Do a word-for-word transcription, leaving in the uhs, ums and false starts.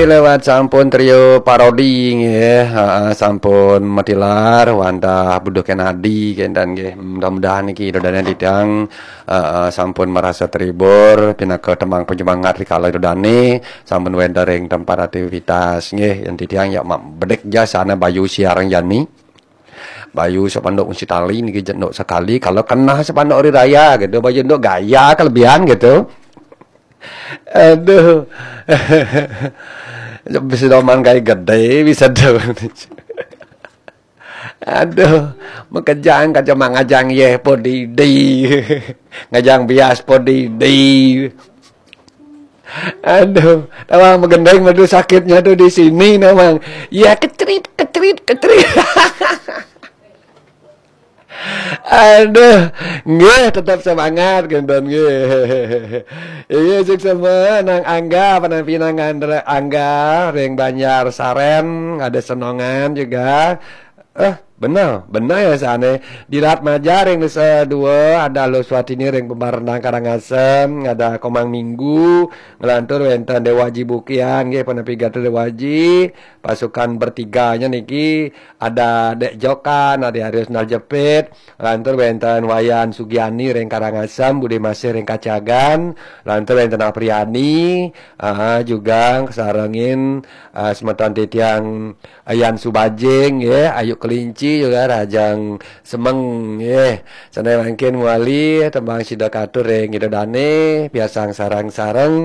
Lewat sampun trio parodi nggih, heeh, sampun matilar wantah Buduh Kenadi kenten nggih. Mudah-mudahan niki Ida Dane titiang, heeh, sampun merasa terhibur pinaka tembang penyemangat rikala Ida Dane sampun wenten ring tempat aktivitas nggih. Yen titiang ya mak bedek ja sana bayu siarang jani. Bayu sepanduk kunci tali niki jenduk sekali kalau kena sepanduk hari raya gitu, bayu jenduk gaya kelebihan gitu. Aduh. Bisa doman kayak gede, bisa do. Aduh, makejang kaca mangajang yeh podidi. Ngajang bias podidi. Aduh, tawang magendeng madu sakitnya tuh di sini namang. Ya kecerit, kecerit, kecerit. Aduh, nggih tetap semangat kenten nggih. Iya, sukses semua nang Angga, panampi nang Andra Angga, ring Banjar Saren, ada Senongan juga. Eh, bener, bener ya sana. Di Rat Maja ring Nusa Dua, ada Lo Swatini ring Pembarendang Karangasem, ada Komang Minggu, ngelantur wenten Dewaji Bukian, nggih, panampi Gatot Dewaji, pasukan bertiganya niki, ada Dek Jokan, ada Arius Naljepit, lantur wenten Wayan Sugiani ring Karangasem, Bude Masih ring Kacagan, lantur wenten Apriani, ah, juga sarengin, ah, semeton titiang Ayan Subajing, ya, Ayu Kelinci juga Rajang Semeng, ya. Sana mangkin mawali tembang sida katur ring Ida Dane, piarsang sareng-sareng.